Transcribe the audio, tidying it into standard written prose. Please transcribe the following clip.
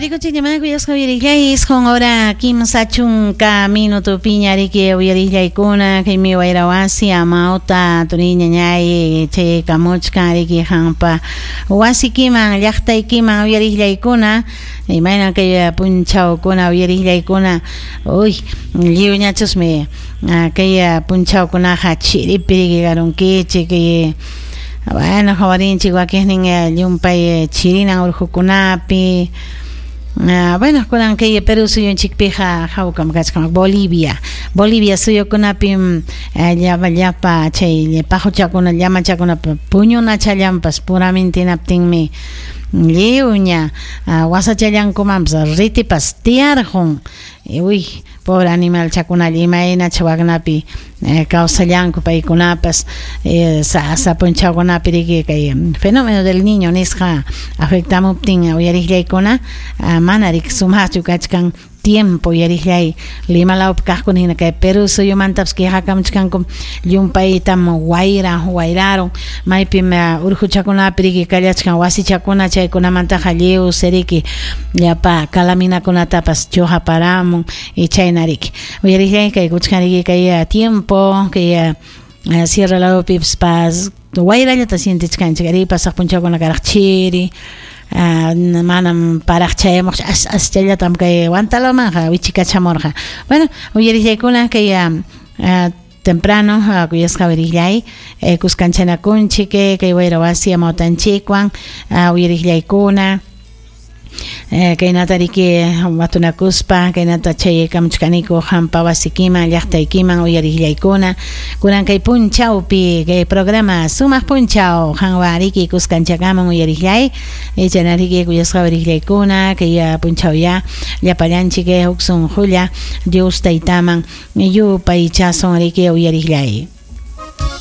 Rikuchikñamá kuyasqa uyariqllay 9 hora 30 minutopiña riki uyariqllaykuna kaymi wayra wasi amawta turiy ñañay chayaykamuchkan riki qampa wasikiman llaqtaykiman uyariqllaykuna imaynan kay punchawkuna uyariqllaykuna uy lliwñachusmi kay punchawkunaqa chiripi riki karunkichik kay bueno qawarinchik wakiqnin llumpay chirinan urqukunapi. Bueno, kunan kay Perú suyunchikpiqa hawkam kachkan Bolivia. Bolivia suyukunapim llapa llapa chay paquchakuna llamachakunapa puñunachallanpas puramintinaptinmi lliwña wasachallankumanpas ritipas tiyarqun. Uy, pobre animalchakunalla imaynacha waknapi kawsallanku paykunapas sasa punchawkunapi riki kay fenómeno del niño nisqa afectamuptin uyariqllaykuna mana riki sumaqchu kachkan tiempo uyariqllay Lima lawpi kaqkuna hina kay Perú suyumantapas quejakamuchkanku llumpaytam wayra wayrarun maypim urquchakunapi riki kallachkan wasichakuna chaykunamantaqa lliw riki llapa calaminakunatapas chuqaparamun y chayna riki uyariqllay kay kuchkan riki kay tiempo kay sierra lawpipas pas wayrallata sientichkanchik ari pasaq punchawkuna karaq chiri manam paraq chayamuqchu as aschallatam kay Huantalomanqa wichikachamurqa. Bueno, uyariqllaykuna kay temprano kuyasqa uyariqllay kuskanchanakunchik kay wayra wasi amawtanchikwan uyariqllaykuna kaynata riki watunakuspa kaynata chayaykamuchkaniku qampa wasikiman llaqtaykiman uyariqllaykuna kunan kay punchawpi kay programa sumaq punchaw qanwan riki kuskanchakaman uyariqllay chayna riki kuyasqa uyariqllaykuna kay punchawya llapallanchik huk sunqulla Dios taytaman yupaychasun riki uyariqllay.